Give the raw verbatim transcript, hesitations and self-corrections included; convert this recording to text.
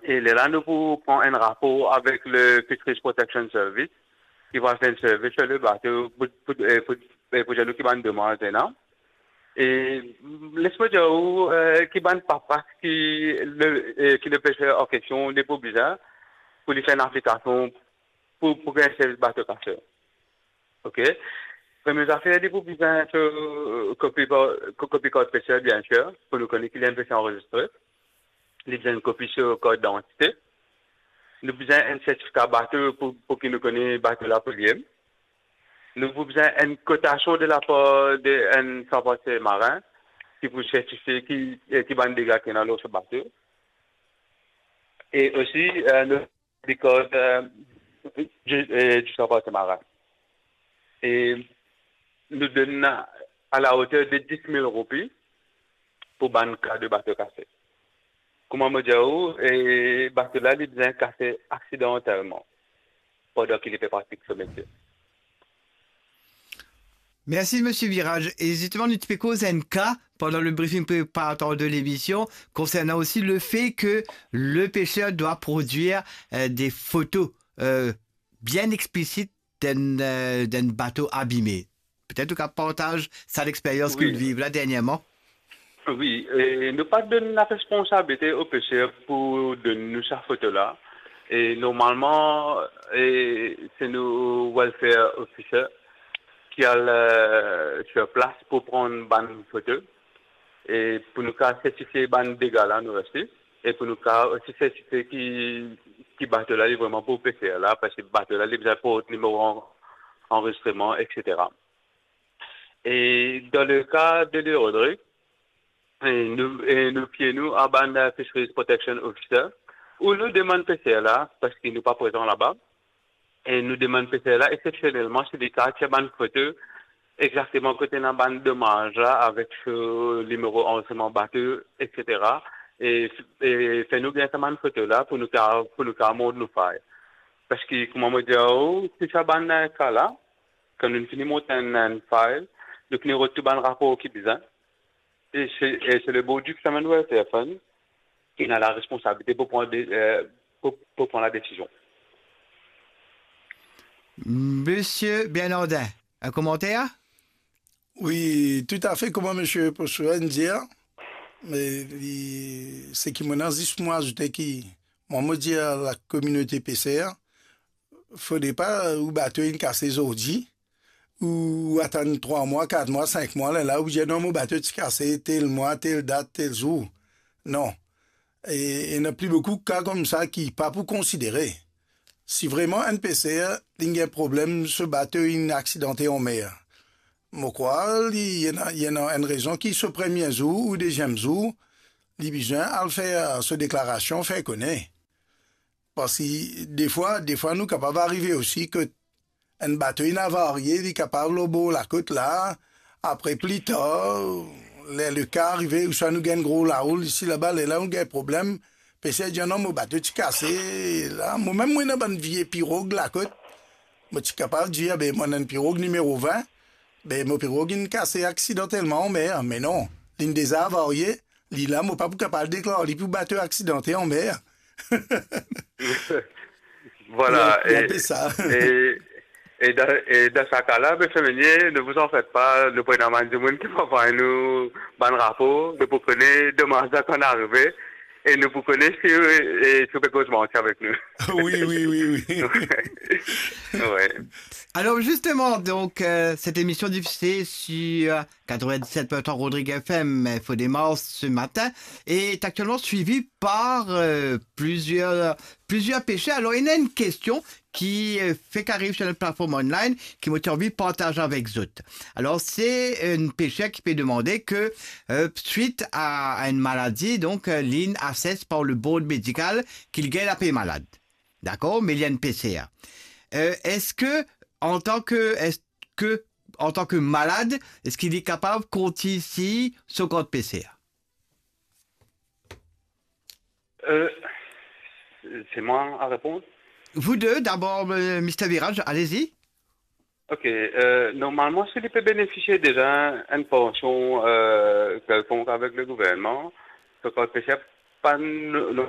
E lerla nou pou pran enn rapor avek le Fisheries Protection Service, ki pou fer enn survey lor le bato pou, pou, eh, pou, eh, pou dir nou ki bann domaz ena. E les mo dir ou, eh, ki bann papras ki le, eh, ki le peser an kestion li pou bizin pou li fer enn aplikasion pou, pou gagn servis bato kaser. Ok. Premie zafer, li pou bizin so kopi par, ko-, kopi kart peser, biensir, pou nou kone ki li enn peser anrezistre. Li bizin enn kopi so kart didantite. Nou bizin enn sertifika bato pou, pou ki nou kone bato la pou li. Nou pou bizin enn kotasion de lapar de enn sanpater marin ki pou sertifie ki, eh, ki bann dega ki ena lor so bato. E osi, eh, nou dikoz, eh, di, eh, di sanpater marin. E nou donn a la oter de dis mil roupi pou bann ka de bato kase. Kouma mo dir ou, eh, bato la, li bizin kase aksidantelman pandan ki li pe pratik so metie. Mersi, Misie Virage. E zisteman, nou ti pe koz enn ka pandan le briefing preparatoire de lemision, konsernan osi le fe ke le peser dwa prodwir, eh, de foto, eh, bien explisit d'enn, eh, d'enn bato abime. Petet ou kapav partaz sa lexperyans ki Wi. ou viv la dernierman. Wi, e nou pa donn laresponsabilite o peser pou donn nou sa foto la. E normalman, e se nou welfare officer ki al, eh, sur plas pou pran bann foto. E pou nou kapav sertifie bann dega la nou reste. E pou nou kapav osi sertifie ki, ki bato la li vreman pou peser la, parski bato la li bizin port nimero an-, anrezistreman, etsetera. E dan le ka de L'Île Rodrigue, e nou, e nou fie nou a bann, eh, Fisheries Protection Officer, ou nou demann peser la, parski nou pa prezan laba, e nou demann peser la, eksepsionelman, si li kapav tir bann foto exakteman kot ena bann domaz la, avek so nimero anrezistreman bato, etsetera. E, e fer nou gagn sa bann foto la pou nou kapav, pou nou kapav mont nou fay. Parski, kouma mo dir ou, tou sa bann, eh, ka la, kan nou fini mont enn, enn file, nou fini rod tou bann rapor ki bizin. E se, e se le Bordeaux Fishermen Welfare Fund ki ena laresponsabilite pou pran de, eh, pou, pou pran ladesizion. Misie Bernardin, enn komanter? Wi, toutafe, kouma Misie Posuren dir, me li, seki mo ena zis mo azoute ki, mwa, mo dir lakominote peser, fode pa ou bato inn kase zordi, ou atann trwa mwa, kat mwa, sink mwa, lerla ou dir, "Non, mo bato ti kase tel mwa, tel dat, tel zour." Non. E, ena pli boukou ka koumsa ki pa pou konsidere. Si vreman enn peser, li gagn problem, so bato inn aksidante anmer, mo krwar li, li ena, li ena enn rezon ki so premie zour ou deziem zour, li bizin al fer so deklarasion, fer kone. Parski defwa, defwa nou kapav arive osi ki enn bato inn avarie, li kapav lor bor lakot la, apre pli tar, ler le ka arive, ouswa nou gagn gro laroul isi laba, lerla nou gagn problem, peser dir, "Non, mo bato ti kase." La, mo mem, mo ena bann vie pirog lakot, mo ti kapav dir, "Be, mo ena enn pirog nimero vin, be, mo pirog inn kase aksidantelman anmer." Me non, linn deza avarie, li la, mo pa pou kapav deklar li pou bato aksidante anmer. Vwala, Li, li e, enpe sa. e, e dan, e dan sa ka la, Misie Meunier, ne vous en faites pas, nou pou ena bann dimoun ki pou anvway nou bann rapor, nou pou kone domaz la kan arive, e nou pou kone si, e, si ou pe koz manti avek nou. Wi, wi, wi, wi. Wi. Alors justement, donc, euh, cette émission diffusée sur quatre-vingt-dix-sept point trois Rodrigue F M, Info Démarche ce matin, est actuellement suivie par, euh, plusieurs, plusieurs pêcheurs. Alors, il y a une question qui, euh, fait qu'arrive sur notre plateforme online, ki mo ti anvi partaz avek zot. Alors, c'est une pêcheur qui peut demander que, euh, suite à, à une maladie, donc, euh, linn assess par le board médical, ki li gagn lape malad. Dakor, me li enn peser. Euh, eski, antan ke, eski, antan ke malad, eski li kapav kontign so kart peser? Euh, c'est moi à répondre. Vous deux, d'abord, euh, Mister Virage, allez-y. Ok, euh, normalman, si li pe benefisie deza enn pansion, euh, kelkonk avek le gouvernman, so kart peser pa n-,